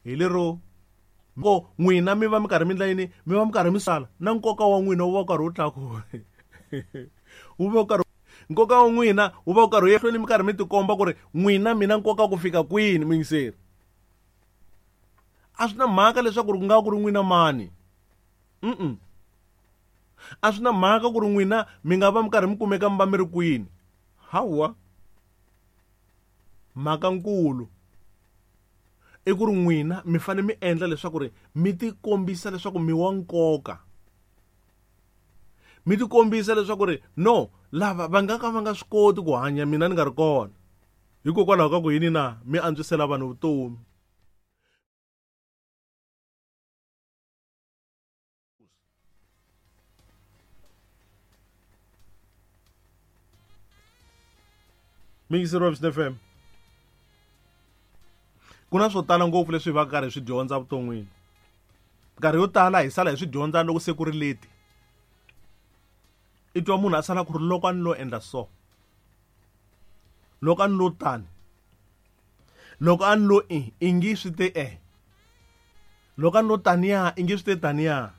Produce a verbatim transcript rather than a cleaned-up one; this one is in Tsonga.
Hi lero ko n'wina mi va mi karhi mi endla yini, mi va mi karhi mi sala na nkoka wa n'wina wu va wu karhi wu tlakuka. Wu va wu karhi nkoka wa n'wina wu va wu karhi wu hlweni mi karhi mi tikomba ku ri n'wina mina nkoka ku fika kwini muyingiseri. A swi na mhaka leswaku ku nga ku ri n'wina mani. Mm-mm. A swi na mhaka ku ri n'wina mi nga va mi karhi mi kumeka mi va mi ri kwini. Hawa. Mhaka nkulu i ku ri n'wina mi fanele mi endla leswaku ri mi tikombisa leswaku mi wa nkoka. Mi tikombisa leswaku ri no lava va nga ka va nga swi koti ku hanya mina ni nga ri kona. Hikokwalaho ka ku yini na mi antswisela vanhu vutomi. Mixer wa F M. Ku na swo tala ngopfu leswi hi va karhi hi swi dyondza vuton'wini. Nkarhi yo tala hi sala hi swi dyondza loko se ku ri leti. I twa munhu a sala ku ri loko a ni lo endla so. Loko a ni lo tani. Loko a ni lo i, i ngi swi te e. Loko a ni lo taniya, i ngi swi te taniya.